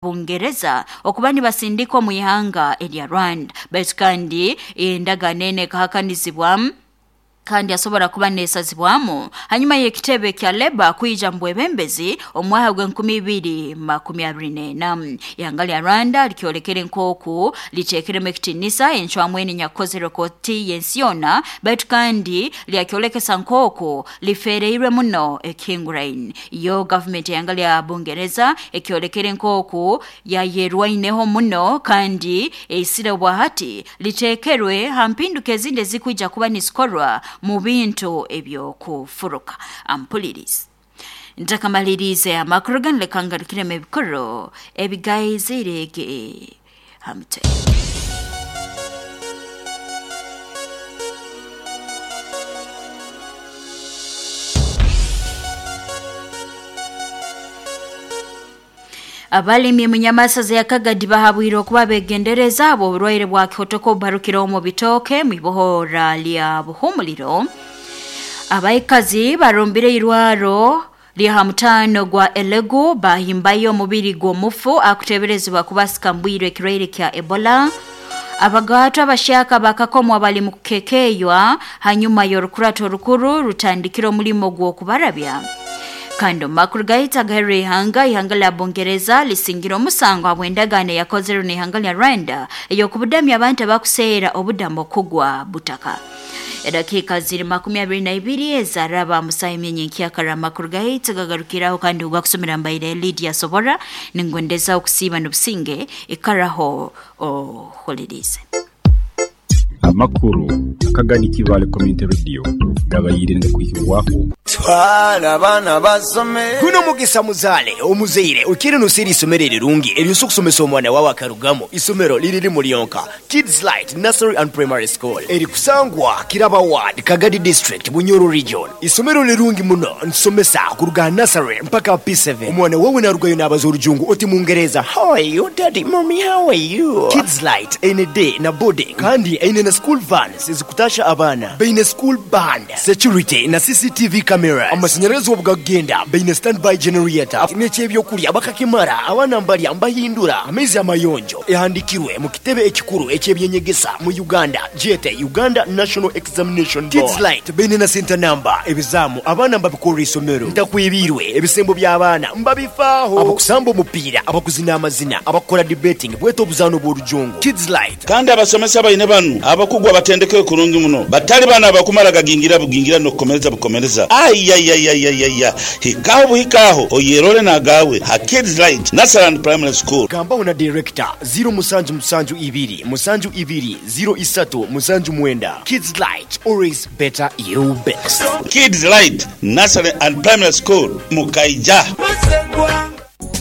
Bungereza okuba nibasindika omu ihanga erya Rwanda. Baitu kandi endagaano enu ekahakanizibwa kandi asobora kuba nesazibwamu hanyuma y'ekitebe kya Leba kwija mu bwebembezi omwaka gw'enkumi ibiri makumi abiri n'ena. Ihanga lya Rwanda likyolekere nk'oku liteekeremu ekitiinisa encwamu enu enyakukozerwe kooti y'ensi yoona, baitu kandi lyakyolekesa nk'oku lifeereirwe muno ekihinguraine. Yo gavumenti y'ihanga lya Bungereza ekyolekere nk'oku yayerwaineho muno kandi eisire obwahati liteekerwe ha mpinduka ezindi ezikwija kuba nizikorwa mu bintu ebyokufuruka. Ampulirize. Ntakamaliriize amakuru ganu, leka ngarukiremu ebikuru ebigaizirege ha mutwe. Abalimi mu nyamasaza ya Kagadi bahabwire okuba begendereza habw'oburwaire bwa kihotoko obubarukire omu bitooke mu ibohora lya Buhumuliro. Abaikazi barumbire irwaro lya ha mutaano gwa Elegu bahimbayo omubiri gw'omufu akuteeberezebwa kuba asikambwirwe ekirwaire kya Ebola. Abagaatwa abahyaka bakakomwa bali mu kukekeeywa hanyuma y'orukurato orukuru rutandikire omulimo gw'okubarabya. Kandi omu makuru gaitu agaherire ihanga, ihanga lya Bungereza lisingire omusango habw'endagaano eyakozerwe n'ihanga lya Rwanda ey'okubudamya abantu abakuseera obudamu okugwa butaka. Edakiika ziri 22 ezaraba musaha emyenya enkyakara. Amakuru gaitu gagarukiraho kandi ogakusomera mbaire Lydia Sobora, ningondeza okusiiba n'obusinge, ikaraho ohulirize. Amakuru akagani Kibaale Community Radio gabaire nigakwihibwaho. Twala abaana basome. Guno mugisa muzaale omuzaire okiire noseera isomero erirungi eryosobola okusomesa omwana wawe akarugamu. Isomero liri limu lyonka, Kids Light Nursery and Primary School erikusangwa Kiraba Ward, Kagadi District, Bunyoro Region. Isomero lirungi muno, nitusomesa kuruga aha nursery mpaka P7. Omwana wawe narugayo nabaza orujungu oti mungereza, How are you daddy, mummy how are you? Kids Light eine day na boarding kandi eine na school vans ezikutasha abaana. Baine school band, security na CCTV cameras. Amasanyarazi obu gakugenda baine standby generator. N'eky'ebyokurya bakakimara, abaana mbarya mbahindura amaizi amayonjo. Ehandikirwe mu kitebe ekikuru eky'ebyenyegesa mu Uganda gyete Uganda National Examination Board. Kids Light baine na senta namba, ebizaamu abaana mbabikorra isomero, ntakwebiirwe, ebisembo by'abaana mbabifaaho, abakusamba omupiira, abakuzina amazina, abakukora debating bwete obuzaano bw'orujungu. Kids Light. Kandi abasomesa baine banu abakugu abatendekeirwe kurungi muno, batali banu abakumara gagingira bugingira n'okukomereza bukomereza. Aiaiaiaiaia! Hikaho buhika aho oyerole n'agaawe ha Kids Light Nursery and Primary School. Gambaho na Director, ziro musanju musanju ibiri musanju ibiri ziro isatu musanju mwenda. Kids Light, always better you best. Kids Light Nursery and Primary School, Mukaija.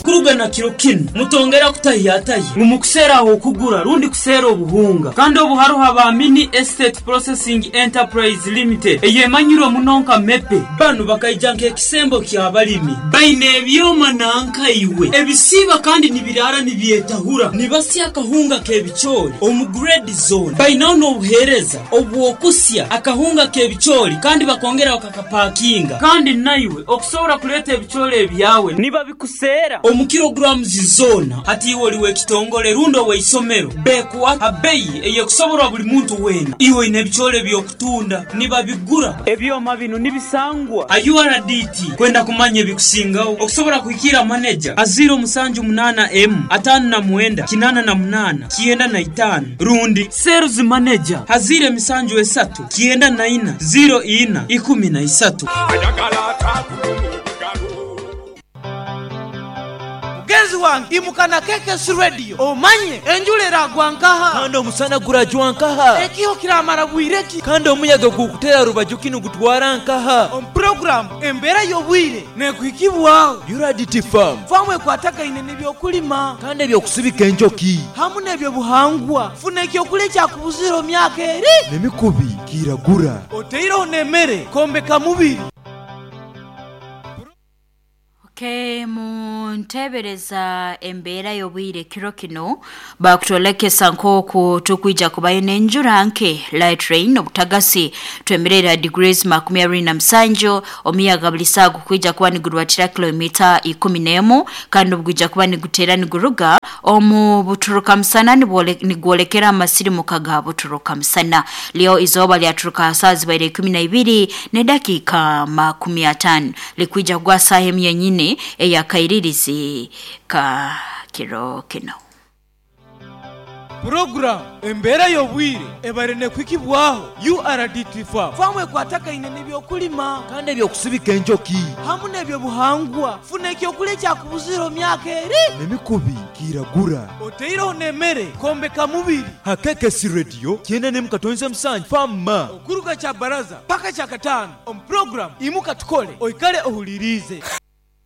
Kuruga na kiro kinu, mutongera kutahiyatahya ngu mukuseera ah'okugura rundi kuseera obuhunga. Kandi obu haroho aba Mini Estate Processing Enterprise Limited eyemanyirwe muno nka MEPE. Banu bakaija nk'ekisembo ky'abalimi. Baine ebyoma nanka iwe ebisiiba kandi nibiraara nibyetahura, nibasya akahunga k'ebicoori omu grade zoona. Bainaho n'obuheereza obw'okusya akahunga k'ebicoori kandi bakongera bakakapakinga. Kandi naiwe okusobora kuleeta ebicoori ebyawe nibabikuseera omu kilograms zoona. Hati iwe oli w'ekitongole rundi ow'eisomero, bekuha ha beyi ey'ekusoborwa buli muntu weena. Iwe oine ebicoori eby'okutunda, nibabigura. Ebyoma binu nibisangwa ha URDT. Kwenda kumanya ebikusingaho, okusobora kuhikiira maneja ha ziiro musanju munaana emu, ataano na mwenda, kinaana na munaana, 95 rundi Sales Manager ha ziiro emisanju esatu, 94, 04, 13. Mugenzi wange imuka na KKC Radio omanye enjura eragwa nkaha. Kandi omusana gurajwa nkaha? Ekiho kiramara bwire ki? Kandi omuyaga gukutera rubaju ki nigutwara nkaha? Omu puroguramu Embeera y'obwire nekuhikibwaho. Uradity Farm. Faamu ekwatagaine n'ebyokulima. Kandi eby'okusibika enjoki. Hamu n'ebyobuhangwa. Funa ekyokulya ekyakubuzire omu myaka eri. N'emikubi kiragura. Oteireho n'emere kwombeka mubiri. Okay, muntebereza embeera y'obwire kiro kino bakutolekesa nk'oku tukwija kubayo n'enjura nke light rain obutagasi twemerera degrees 27, omuyaga buli saa gukwija kuba nigurwatira kilomita 11 kandi obugwija kuba nigutera niguruga omu buturuka musana nigwolekera amasirimuka ga buturuka musana. Leo izooba lyaturuka saa zibaire 12 ne dakika 50 likwija kugwa saa emu yenyini eyakairirizi ka kiro kino. Program embeera y'obwire ebare nekwikibwaho URDT Farm. Famu ekwatakaine n'ebyokulima kandi ebyokusibika enjoki hamu n'ebyobuhangwa. Funa ekyokulya ekyakubuzira omyaka eri n'emikubi kiragura oteireho n'emmere kombeka mubiri. Hakekesi Radio 97.7 Fama okuruga kya baraza paka kya katano omu program imuka tukole oikale ohulirize.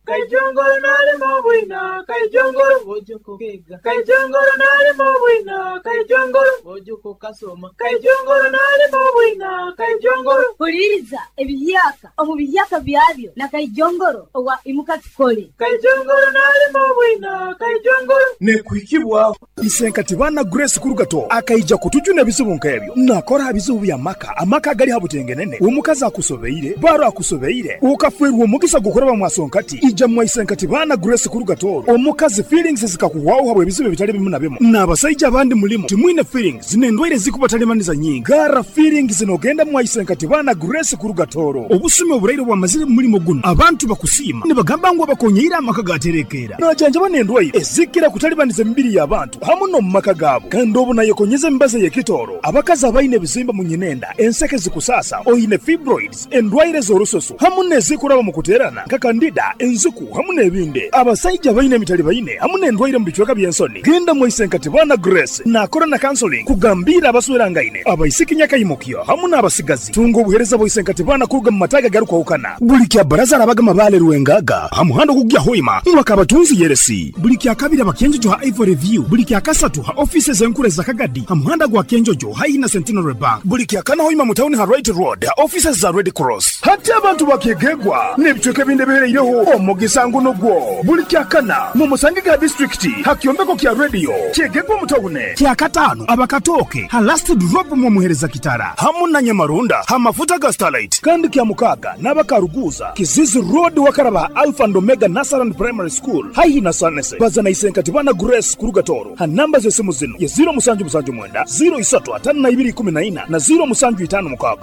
Kaijongoro nalimo bwina, kaijongoro bojoko kega. Kaijongoro nalimo bwina, kaijongoro bojoko kasoma. Kaijongoro nalimo bwina, kaijongoro. Huliriza ebiyaka omu biyaka byabyo na kaijongoro owa imuka tukole. Kaijongoro nalimo bwina, kaijongoro. Nekwikibwa Isenkati bana Grace Kurugato akaija kutujuna ebizibu nk'ebyo nakora bizibu bya maka amaka gali habutengenene omukazi akusobeire baro akusobeire ukafwerwa omugisa gukoraba mwasonkati ija mwaisenkati bana Grace Kurugato omukazi feelings zikakuwawo habwe ebizibu bitali bimu na bimu n'abasajja abandi mulimo timwine feelings n'endwaire zikubatalimanisa nyingi gara feelings nogenda mwaisenkati bana Grace Kurugatoro obusumi oburaire bwamazire mulimo guno abantu bakusiima nibagamba ngu abakonyeire amaka gaterekera najanja banendwaire ezikira kutalibaniza emibiri y'abantu hamu no mumaka gaabo kandi obu nayekonyeza emibazi y'ekitoro abakazi abaine ebizimba mu nyinenda enseke zikusasa oine fibroids endwaire z'orusoso hamu n'ezikuraba mu kuterana nka kandida enziku hamu n'ebindi abasajja baine emitali baine hamu n'endwaire mu bicweka by'ensoni genda mwaisenkati bana Grace nakora na counseling kugambira abaswerangaine abaisiki nyakaimukyo hamu n'abasigazi tunga obuhereza bwaisenkati bana kuruga mu mataga garukwahukana buli kya baraza arabaga mabale rwengaga hamuhando kugya hoima mwakabatunzi yeresi buli kya kabiri abakenjojo ha Ivory View buli kya kasatu ha offices enkure za Kagadi hamuhanda gwa Kenjojo haina Centenary Bank buli kya kana hoima mutauni ha Right Road ha offices za Red Cross hati abantu bakegegwa n'ebicweka ebindi bihereireho omugisa nguno gwo buli kya kana mu Musangiga district ha kyombeko kya radio kyegegwa mutaune kya katano abakatoke ha last drop mu muhereza kitara hamu na Nyamarunda ha mafuta ga Starlight kandi kya mukaga n'abakaruguza Kizizi Road wakaraba Alpha and Omega Nasaran Primary School haihi na Sanese bazana isenkati bana Grace Kurugatoro ha namba z'esimu zino ye 0779 035214 na 0756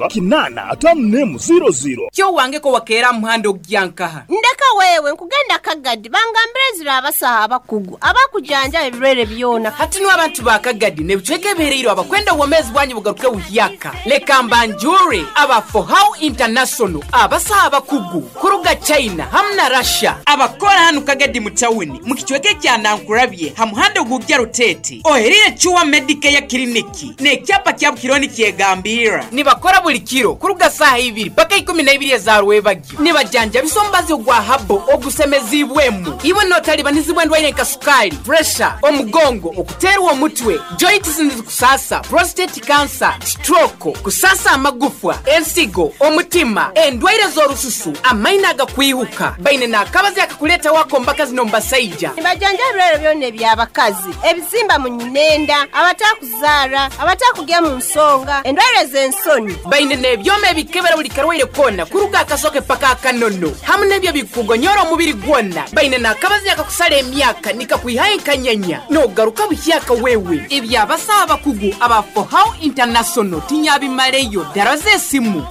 854 00 kyo wangeko wakeera muhando gyankaha ndeka wewe nkugenda Kagadi bangambire zira abasaha abakugu abakujanja ebirwere byona hati no abantu ba Kagadi nebicweka ebihereire abakwenda obwomezi bwanyu bugaruke buhyaka leka mbanjure aba For How International abasaha abakugu kuruga China hamwe na Russia abakora hano Kagadi mu tawuni mu kicweke kya Nankurabye ha muhando gugya Rutete oherire Chuwa Medicare Clinic n'ekyapa kya Bukironi kyegambira nibakora buli kiro kuruga saha ibiri paka 12 za rwebagyo nibajanja bisombazi ogwa habo ogusemezibwemu iwe notalibanizibwa endwaire nka sukali pressure omugongo okuterwa omutwe joints kusasa prostate cancer stroke kusasa amagufwa ensigo omutima endwaire z'orususu amaina agakwihuka baine n'akabazi akakuleta wako mbaka zino mbasaija nibajanja ebirwere byona eby'abakazi ebizimba mu nyinenda abatakuzara abatakugya mu nsonga endwaire z'ensoni baine n'ebyoma ebikebera buli karwaire kona kuruga akasoke paka akanono hamu n'ebyo bikugonyora omubiri gwona baine n'akabazi akakusala emyaka nikakwihayo enkanyanya n'ogaruka buhyaka wewe ebyabasaha abakugu aba For How International tinyabimaleyo ddala z'esimu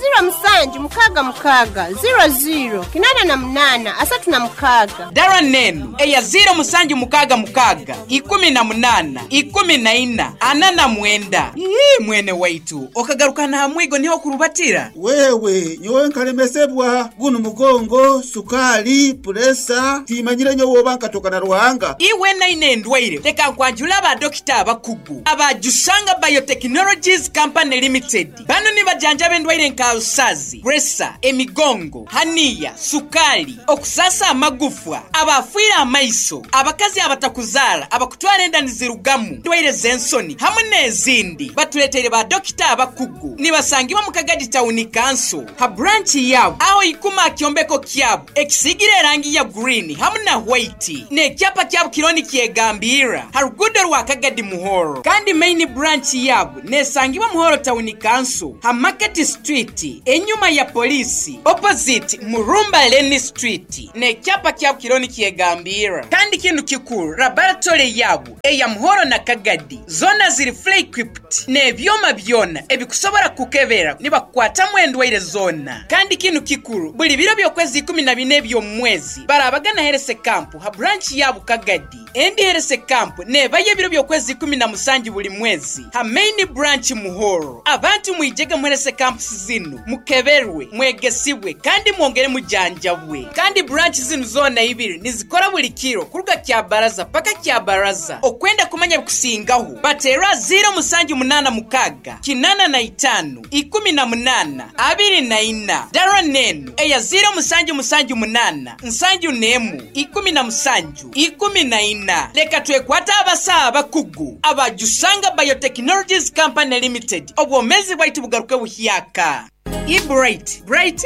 0766 00 88 36 dara nenu eya 0766 18 14 49. Ii mwene waitu okagarukana hamwigo niho kurubatira wewe nyowe nkalemesebwa guno mugongo sukali puresa timanyire nyowe oba nkatoka na Ruhanga iwe naine endwaire leka nkwanjula abadokita abakugu abajusanga Biotechnologies Company Limited bano nibajanjaba endwaire nka usazi puresa emigongo haniya sukali okusasa amagufwa abafiira amaiso abakazi abatakuzara abakutwara enda nizirugamu ndwaire z'ensoni hamwe n'ezindi batuleteire ba dokita abakugu nibasangibwa mu Kagadi Town Council ha branch yabo aho ikuma kyombeko kyabo ekisigire erangi ya green hamu na white n'ekyapa kyabo kiriho nikyegambirra ha ruguudo rwa Kagadi Muhoro. Kandi main branch yaabo nesangibwa Muhoro Town Council ha Market Street enyuma ya poliisi opposite Murumba Lane Street n'ekyapa kyabo kiriho nikyegambirra. Kandi kinu kikuru laboratory yaabo eya Muhoro na Kagadi zoona ziri fully equipped n'ebyoma byona ebikusobora kukebera nibakukwatamu endwaire zoona. Kandi kinu kikuru buli biro by'okwezi 14 eby'omu mwezi barabagana health camp ha branch yaabo Kagadi. Endi health camp nebayo ebiro by'okwezi 17 buli mwezi ha main branch Muhoro. Abantu mwijege mu health camps zinu mukeberwe, mwegesibwe kandi mwongere mujanjabwe. Kandi branch zinu zoona ibiri nizikora buli kiro kuruga Kyabaraza paka Kyabaraza. Okwenda kumanya bikusingaho bateera 0786 85 18 24 dara nenu eya 0778 71 17 14. Leka twekwata abasaha abakugu abajusanga Biotechnologies Company Limited, obwomezi bwaitu bugaruke buhyaka. Bright Bright,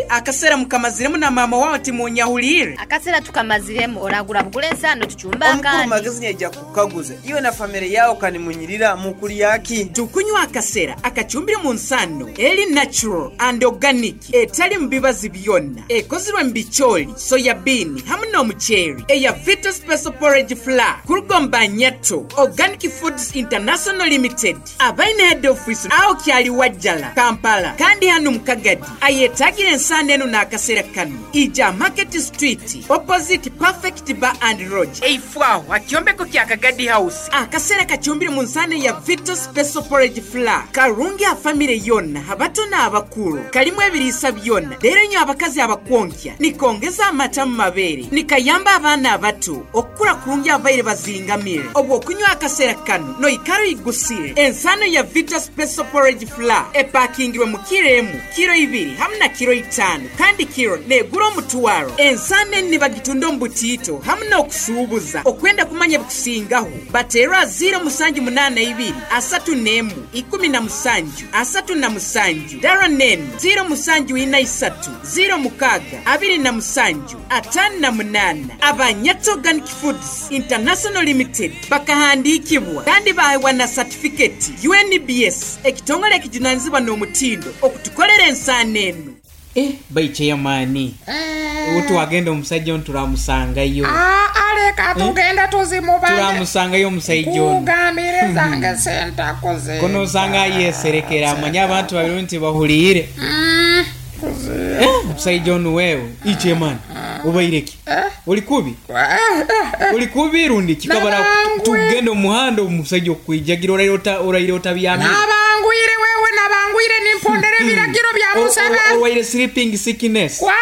akasera mukamaziremu na mama wawe timunyahulire. Akasera tukamaziremu, oragura bugule ensano tucumba. Omukuru akandi. Magezi nyaija kukaguza iwe na family yawo kanimunyirira mukulyaki. Tukunywa akasera akacumbire mu nsano eri natural and organic, etali mu bibazi byonna, ekozirwe mu bicooli, soya bean hamu n'omuceeri, eya Vita Special Porridge Flour kuruga Nyato Organic Foods International Limited, abaine head office aho kyali Wajjala, Kampala. Kandi hano mukagadi ayetagira ensano eno n'akasera kano ija Market Street opposite Perfect Bar and Lodge, eifwaho akyombeko kya Kagadi House. Akasera kacumbire mu nsano ya Vita Special Porridge Flour karungi a family yonna, abato n'abakulu, kalimu ebiriisa byonna. Leero nyo abakazi abakwonkya nikongeza amata mu mabeere, nikayamba abaana abato okukula kurungi abaire bazingamire. Obwo okunywa akasera kano noikara oyigusire. Ensano ya Vita Special Porridge Flour epakingirwe mu kiro emu, kiro 2 hamu na kiro 5, kandi kiro negura 500. Ensano eni nibagitunda omu butiito hamu n'okusuubuza. Okwenda kumanya bikusingaho bateerwa 0782 31 17 37, dara nenu 0743 06 27 58. Abanyato Organic Foods International Limited bakahandikibwa kandi baheebwa na certificate UNBS, ekitongole ekijunanizibwa n'omutindo okutukolera ensaano eno. Baikyeyamaani twagenda omusajja ono turamusangayo. Aleka tugende tuzimubale. Turamusangayo omusajja ono. Kugambire zange sentakuze. Kono osanga ayeserekera amanye abantu babiri nti bahuliire. Omusajja ono wewe ikyemani obaireki oli kubi, oli kubi rundi kikabara tugenda omuhanda omusajja okwijagira oraire otabyamire. Nabangwire wewe, nabangwire nimpondera ebiragiro bya Museveni. Orwaire sleeping sickness. Kwa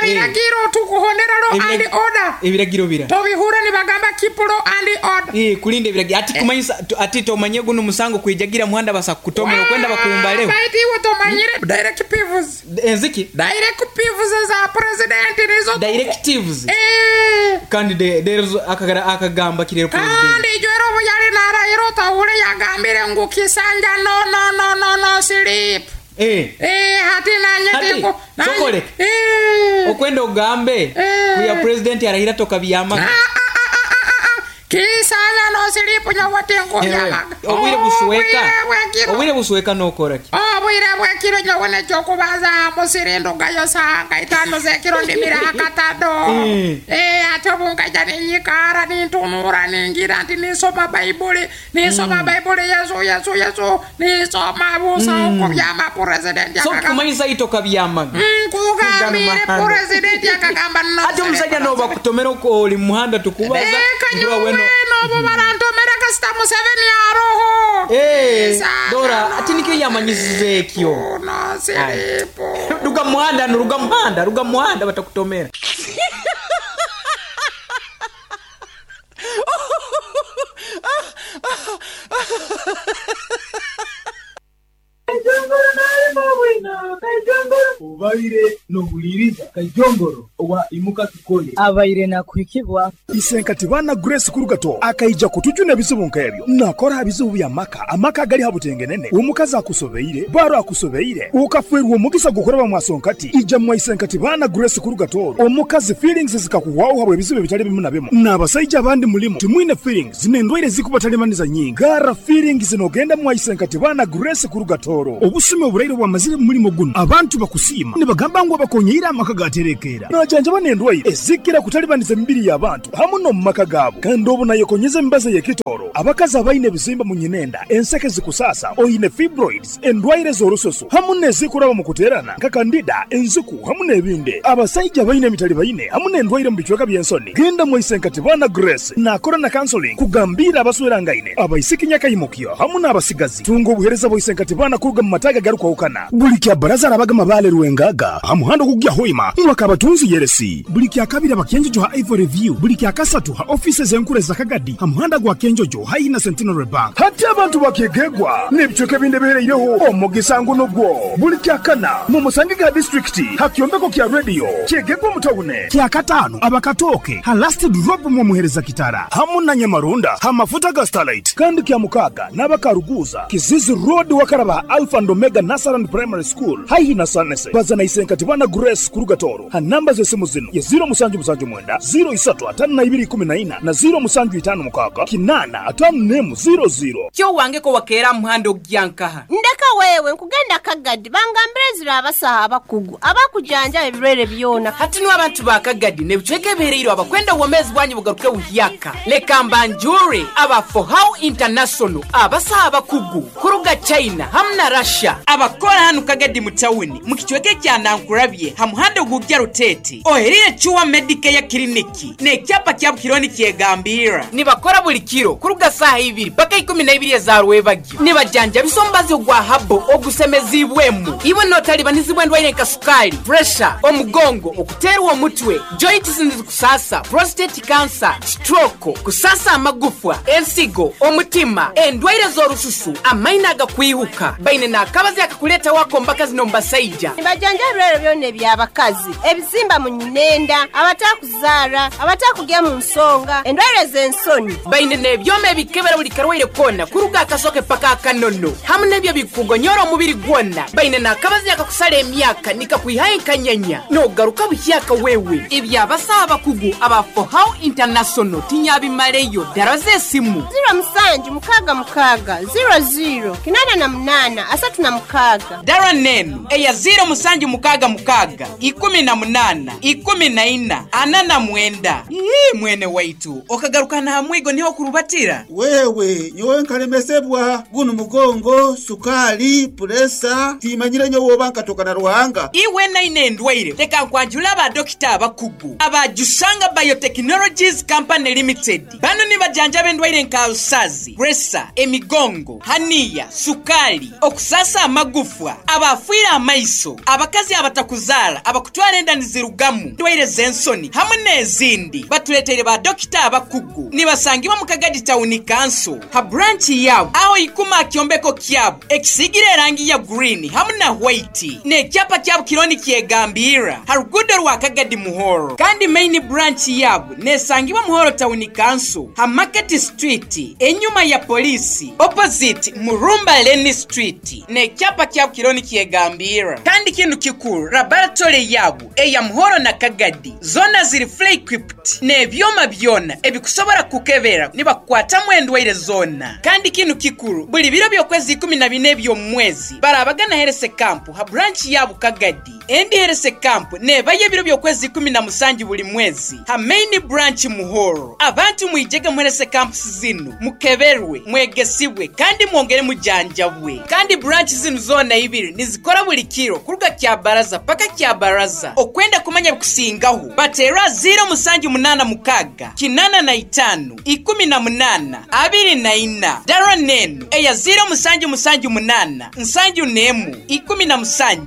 biragiro tukuhondera law and order. Ebiragiro bira tobihura nibagamba keep law and order. Kulinda ebiragiro ati kumanyisa ati tomanye guno musango kwijagira muhanda basa kutomera okwenda bakumbaleho. Baiti iwe tomanyire directives. Enziki directives za president nizo directives. Kandi there's akagamba kirero president. Kandi ijwero buyali narahiro tahule yagambire ngu kisanja no no no no no sleep. Hati nanye tingo sokole. Okwenda ogambe kuya president arahira toka byama. Kisanja no sleep nyawatengo byamaga. Obwire busweka. Obwire busweka nokora ki? Obwire bwekiro nyawane kyokubaza musirindo gayo sanga itano zekiro ndimira akatado. Ate bunkaja ninyikara nintunura ningira nti nisoma Baibuli, nisoma Baibuli Yesu Yesu Yesu, nisoma busa okubyama president yakagamba. So kumanyisa itoka byamaga. Kugambire president yakagamba no. Ate omusajja noba kutomera oli muhanda tukubaza. Ngura weno nobo barantomera kasita Museveni aroho. Dora ati nikyo yamanyisize ekyo. No silipo. Ruga muhanda no ruga muhanda, ruga muhanda batakutomera. Kajongoro nalimo bwino, kajongoro. Obaire nohuliriza Kaijongoro owa Imuka Tukole. Abaire nakuhikibwa. Isenkati bana Grace Kurugato akaija kutujuna ebizibu nk'ebyo. Nakora ha bizibu bya maka, amaka agali ha butengenene. Omukazi akusobeire, baro akusobeire, ukafwerwa omugisa gukoraba mwasonkati. Ija mwa Isenkati bana Grace Kurugato. Omukazi feelings zikakuwaho habwe ebizibu ebitali bimu na bimu. N'abasajja abandi mulimu timwine feelings n'endwaire zikubatalimanisa nyingi. Gara feelings nogenda mwa Isenkati bana Grace Kurugatoro. Obusumi oburaire bwamazire mu mulimo guno. Abantu bakusiima nibagamba ngu abakonyeire amaka gaterekeera. Najanjaba n'endwaire ezikira kutalibaniza emibiri y'abantu hamu n'omu maka gaabo. Kandi obu nayekonyeza emibazi ey'ekitoro. Abakazi abaine ebizimba mu nyinenda, enseke zikusasa, oine fibroids, endwaire z'orususu hamu n'ezikuraba mu kuteerana nka kandida, enziku hamu n'ebindi. Abasajja baine emitali baine hamu n'endwaire mu bicweka by'ensoni. Genda mu Isenkati bana Grace nakora na counseling kugambira abaswerangaine, abaisiki nyakaimukyo hamu n'abasigazi. Tunga obuheereza bwa Isenkati bana kuruga mu mataga garukwahukana. Buli kya baraza arabaga mabale Rwengaga ha muhanda ogugya Hoima mwaka abatunzi yeresi. Buli kya kabiri abakenjojo ha Ivory View, buli kya kasatu ha offices enkuru za Kagadi ha muhanda gwa Kenjojo haihi na Centenary Bank. Hati abantu bakegegwa n'ebicweka ebindi ebihereireho omugisa nguno gwo. Buli kya kana mu musange ga district ha kyombeko kya radio kyegegwa mu tawune. Kya katano abakatoke ha last drop mu muhereza kitara hamu na Nyamarunda ha mafuta ga Starlight. Kandi kya mukaga n'abakaruguza Kizizi Road wakaraba Alpha and Omega Nursery Primary School haihi na Sanese. Bazana Isenkati bana Grace Kurugatoro ha namba z'esimu zino ya 0779 035214 na 0756 854 00. Kyo wangeko wakeera muhando ogyankaha. Ndeka wewe nkugenda Kagadi bangambire zira abasaha abakugu abakujanja ebirwere byona. Hati niwe abantu ba Kagadi nebicweka ebihereire abakwenda obwomezi bwanyu bugaruke buhyaka. Leka mbanjure aba For How International abasaha abakugu kuruga China hamu na Russia abakora hano Kagadi mu tawuni mu kicweka kya Nankurabye ha muhanda ogujya Rutete oherire Chuwa Medicare Clinic n'ekyapa kya Bukironi kyegambira nibakora buli kiro kuruga saha ibiri paka 12 za rwebagyo nibajanja bisombazi ogwa habo ogusemezibwemu iwe notalibanizibwa endwaire nka sukali, pressure, omugongo, okuterwa omutwe, joints nizikusasa, prostate cancer, stroke, kusasa amagufwa, ensigo, omutima, endwaire z'orususu, amaino agakwihuka baine n'akabazi akakuleta wako mbaka zino mbasaija. Nibajanja ebirwere byona eby'abakazi, ebizimba mu nyinenda, abatakuzaara, abatakugya mu nsonga, endwaire z'ensoni. Baine n'ebyoma ebikebera buli karwaire kona kuruga akasoke paka akanono hamu n'ebyo bikugonyora omubiri gwona. Baine n'akabazi akakusala emyaka nikakwihayo enkanyanya nogaruka buhyaka wewe. Ebyabasaha abakugu aba For How International tinyabimaleyo dara z'esimu 0766 00 88 36. Dara nenu eya 0766 18 14 49. Ii mwene waitu okagaruka na hamwigo niho kurubatira. Wewe nyowe nkalemesebwa guno mugongo, sukali, puresa timanyire nyowe oba nkatoka na Ruhanga. Iwe naine endwaire leka nkwanjula aba dokita abakugu abajusanga Biotechnologies Company Limited. Bano nibajanja b'endwaire nka alusazi, presa, emigongo, haniya, sukali, okusasa amagufwa, abafiire amaiso, abakazi abatakuzaala, abakutwara enda nizirugamu, ndwaire z'ensoni hamwe n'ezindi. Batuleteire ba dokita abakugu nibasangibwa mu Kagadi Town Council ha branch yabo aho ikuma kyombeko kyabo ekisigire erangi ya green hamwe na white n'ekyapa kyabo kironi kyegambira ha rugudo rwa Kagadi Muhoro. Kandi main branch yabo nesangibwa Muhoro Town Council ha Market Street enyuma ya polisi opposite Murumba Lane Street n'ekyapa kyabo kironi kyegambira. Kandi kintu kikuru laboratory yabo eya Muhoro na Kagadi zona ziri fully equipped n'ebyoma byona ebikusobora kukebera nibakukwatamu endwaire zona. Kandi kintu kikuru buli biro by'okwezi 14 by'omwezi barabagana Herese Camp ha branch yabo Kagadi. Endi Herese Camp nebaye ebiro by'okwezi 17 buli mwezi ha main branch Muhoro. Abantu mwijege mu Herese Camp zinu mukeberwe, mwegesibwe kandi mwongere mujanjabwe. Kandi branch zinu zona ibiri nizikora buli kiro kuruga kya baraza paka kya baraza. Okwenda kumanya kusingaho batera 0786 85 18 24. Dara nenu eya 0778 71 17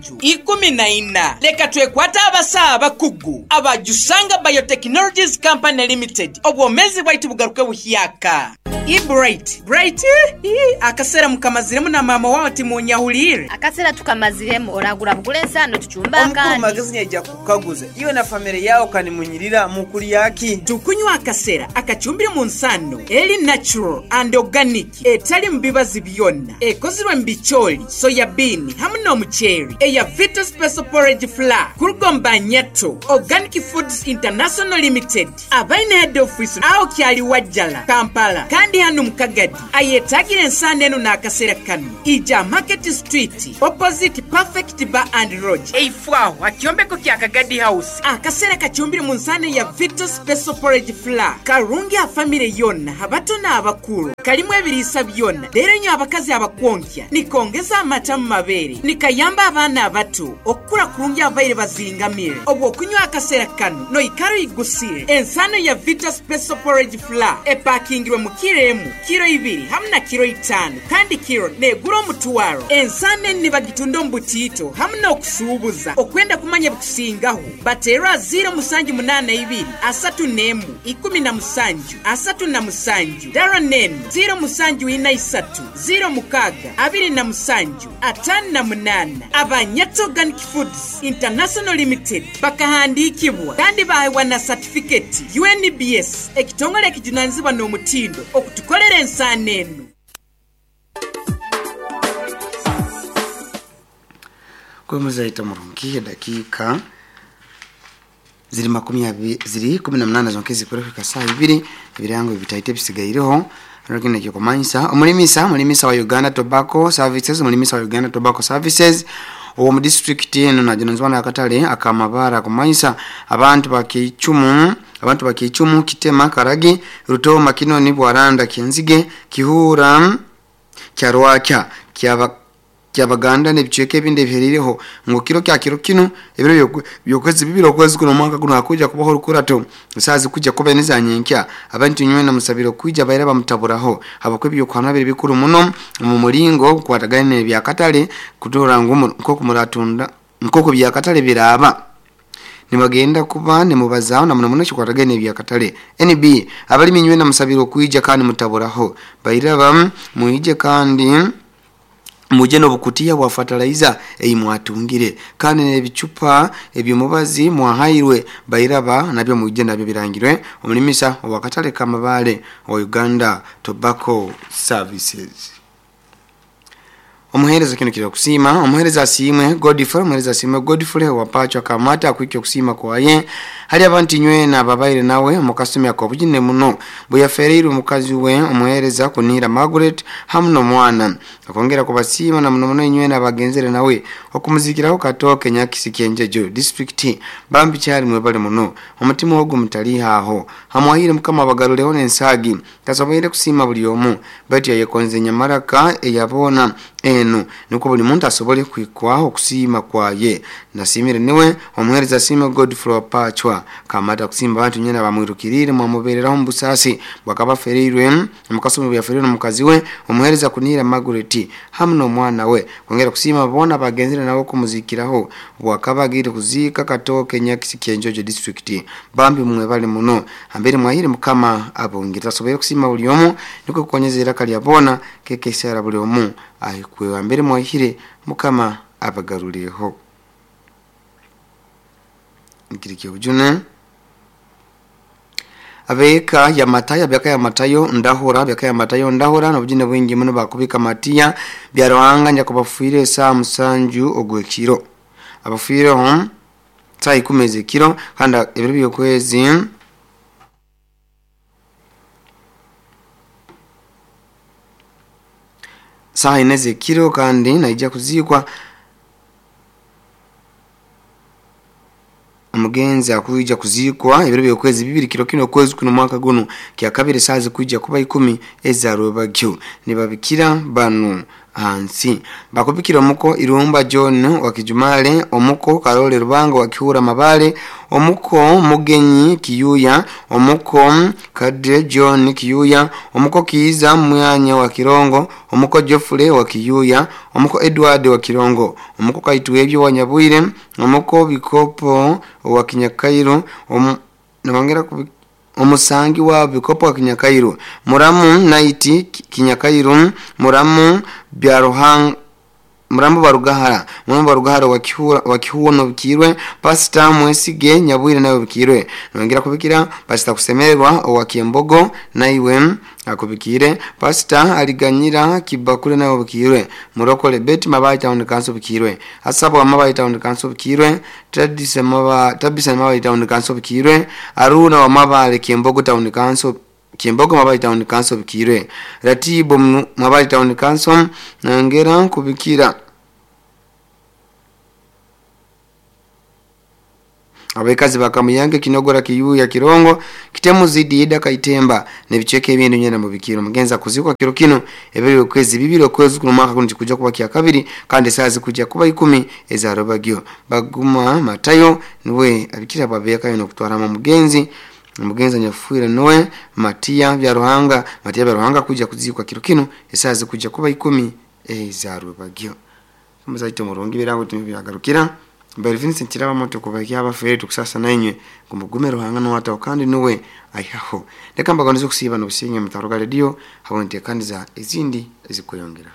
14. Leka twekwata abasaha abakugu abajusanga Biotechnologies Company Limited. Obwomezi bwaitu bugaruke buhyaka. Ii Bright, Bright, ii akaseera mukamaziremu na maama waawe timunyahuliire. Akaseera tukamaziremu oragura bugura ensaano tucumbe Omukuru akandi. Magezi nyaija kukukaguza iwe na famire yawe kanimunyirira mukulya ki? Tukunywa akasera akacumbire mu nsaano eri natural and organic etali mu bibazi byona ekozirwe mu bicooli, soya bean hamu n'omuceeri eya Vita Special Porridge Flour kuruga omu Banyato Organic Foods International Limited abaine head office aho Kyaliwajjala, Kampala kandi hanu mu Kagadi. Ayetagire ensaano enu n'akaseera kanu ija Market Street opposite Perfect Bar and Lodge eifo aho ha kyombeko kya Kagadi House. Akaseera kacumbire mu nsaano eya Vita Special Porridge Flour karungi ha famire yoona abato n'abakuru. Karimu ebiriisa byona reero inywe abakazi abakwonkya nikongeza amata mu mabeere, nikayamba abaana abato okukura kurungi ababaire bazingamire. Obw'okunywa akaseera kanu noikara oigusire. Ensaano ya Vita Special Porridge Flour epakingirwe mu kiro emu, kiro ibiri hamu na kiro itaano kandi kiro negura omutwaro. Ensaano enu nibagitunda omu butiito hamu n'okusuubuza. Okwenda kumanya ebikusingaho bateerwe aha ziiro musanju munaana ibiri asatu n'emu ikumi na musanju asatu na musanju dara n'enu ziiro musanju ina isatu ziiro mukaaga abiri na musanju ataano na munaana. Aba Nyatso Organic Foods International Limited bakahandiikibwa kandi baahebwa na satifiketi UNBS ekitongole ekijunanizibwa n'omutindo okutukolera ensaano enu. Kwemuzaita murungi edakiika ziri makumi abi ziri 18 zonka ezikura kuhika saaha ibiri ebirango bitaito ebisigaireho hariho ekyokumanyisa omulimisa omulimisa wa Uganda Tobacco Services omulimisa wa Uganda Tobacco Services ow'omu disitulikiti enu najunanizibwa n'akatale akamabara kumanyisa abantu bakeicumu abantu bakeicumu Kitema Karagi Rutoma Kinoni Bwaranda Kyenzige Kihura Kyarwakya Kyaba Kyabaganda n'ebicweka ebindi ebiheriireho ngu kiro kya kiro kinu ebiro by'okwezi bibiri okwezi kuno omwaka guno hakwija kubaho orukurato esaaha zikuija kuba neza nyenkya abantu nywena musabire okwija baira bamutaburaho habwokuba ebyokuhanwa biri bikuru muno omu muringo ogukwatagaine n'ebyakatale kutoora ngu nk'oku muratunda nk'oku byakatale biraaba nibagenda kuba nimubazaaho na muno muno ekikwatagaine n'ebyakatale. NB abalimi nywena musabire okwija kandi mutaburaho bairaba mwije kandi muje n'obukutiya bwa fertilizer ei mwatungire kandi n'ebicupa eby'omubazi mwahairwe bairaba nabyo mwije nabyo birangirwe omulimisa owakatale kamabale wa Uganda Tobacco Services. Omuhereza kino kiri okusiima omuhereza asiimwe Godfrey omuhereza asiimwe Godfrey wapachwa kamata akwikya okusiima kwaye hali abantu nywena ababaire nawe omukasumi ak'obujune muno bwe yafereirwe omukazi we omuhereza Kunira Margaret hamu n'omwana akongera kubasiima na muno muno inywena abagenzere nawe okumuzikiraho Katooke Nyakisi Kyenjejo district bambi kyali mwebale muno omutima ogwo mutalihaho hamwahire Mukama abagaruleho n'ensaagi tasoboire kusiima buli omu baitu yayekonze nyamaraka eyabona enu nukwo buli muntu asobole kwikwaho okusiima kwaye. Nasimire niwe omuhereza asiime Godfrey Wapachwa kamata kusimba abantu nyena bamwirukirire mwamubereraho mubusasi bwakabafereirwe mukasumi byafereirwe omukazi we omuhereza Kunira Margaret hamu n'omwana we kwongera kusiima bona bagenzire nabo kumuzikiraho bwakabagire kuziika Katooke Nyakisi Kyenjojo district bambi mwebale muno ambere mwahire Mukama abongere tasoboire kusiima buli omu niko kukonyeza iraka lya bona kekesera buli omu ahikwe ambere mwahire Mukama abagaruleho. Nkirikyo bujune abeka ya Matayo byaka ya Matayo ndahura byaka ya Matayo ndahura n'obujune bwingi muno bakubika matiya byaruhanga nyakubafuire saa musanju ogwekiro abafuire ho saa 10 ezekiro kandi ebiro by'okwezi saa 4 ezekiro kandi naija kuzikwa omugenzi akuija kuzikwa ebiro by'okwezi bibiri kiro kino okwezi kuno mwaka guno kya kabiri saa zikuija kuba 10 ezarwebagyo nibabikira banu hansi bakubikira omuko Irumba John wa Kijumale omuko Karole Rubango wa Kihura Mabale omuko Mugenyi Kiyuya omuko Kadre John Kiyuya omuko Kiiza Mwanya wa Kirongo omuko Geoffrey wa Kiyuya omuko Edward wa Kirongo omuko Kaitwebyo wa Nyabwire omuko Bikopo wa Kinyakairo nabongera Omusangi wa Bikopo wa Kinyakairu, Muramu Naiti Kinyakairu, Muramu Byaruhanga, Murambo Barugahara, Murambo Barugahara wa Kihuo no bikirwe, Pastor Mwesige Nyabwire nawe bikirwe. Nongera kubikira Pastor Kusemererwa wa Kiembogo naiwe akubikire, Pastor Aliganyira Kibakure nawe bikirwe, Murokole Beti Mabayi Town Council bikirwe, Asabo Mabayi Town Council bikirwe, Tradise Maba Tabisa Mabayi Town Council bikirwe, Aruna wa Mabale Kiembogo Town Council Kiembogo Mabayi Town Council bikirwe, Ratibo Mabayi Town Council nongera kubikira abekazi bakamuyange Kinogora Kiyuya Kirongo Kitemu zidi Ida Kaitemba nebicheke ebintu nyena mu bikiro. Mugenza kuzikwa kiro kino ebiri okwezi bibiri okwezi kuno mwaka kuno kikuja kuba kya kabiri kandi saa zikuja kuba 10 ezarobagyo. Baguma Matayo niwe abikira babeka yo kutwara mu mugenzi mugenzi nyafuira noe Matia bya Ruhanga, Matia bya Ruhanga kuja kuzikwa kiro kino esaa zikuja kuba 10 ezarobagyo. Muzaito murungi birango tumibyagarukira Mbere Vincent kiraba moto kubakia abafere tukusasa nainywe kumugume Ruhanga no wata kandi nuwe aihaho. Leka mbaganizo kusiba no businye mutaruga radio habonte kandi za izindi ezikuyongera.